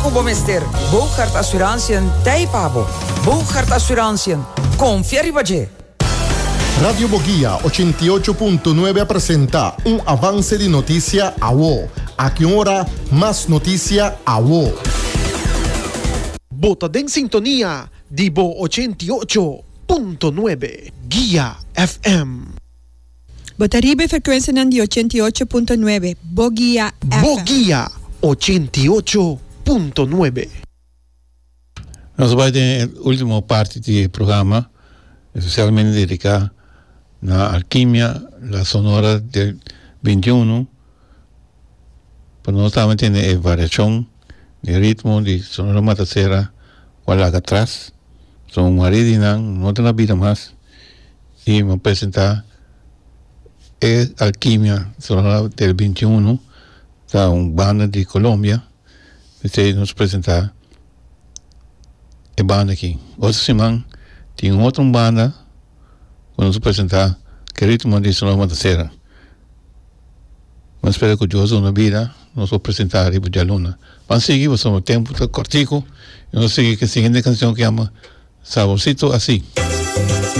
ku bo mester, Boogaard Assurantiën t'ei pa bo. Boogaard Assurantiën, konfia riba dje! Radio Boguia ochenta i ocho punto nuebe a presenta un avance di noticia awo. Aki un ora mas noticia awo. Bo ta den sintonia di bo 88.9 Guia FM. Bo ta riba e frekuensianan di 88.9 Bo Guia FM. Bo Guia 88.9. Nos bai den e ultimo parti di e programa, especialmente dedica na Alquimia, la Sonora del 21, pa nos tambe tene e variacion di ritmo di Sonora Matacera cu a laga atras. Son maria di nan no ta na bida mas y mi a presenta e Alquimia Sonora del 21, ta un banda di Colombia. P'esei nos presentá e banda aki. Otro siman tin un otro banda ku nos presentá ku e ritmo di Sonora Matacera. Nos spera ku Dios duna bida nos por presentá riba djaluna. Ban sigui pasobra tempu ta kòrtiku i nos sigui ku e siguiente kanshon ku yama Saborcito Así.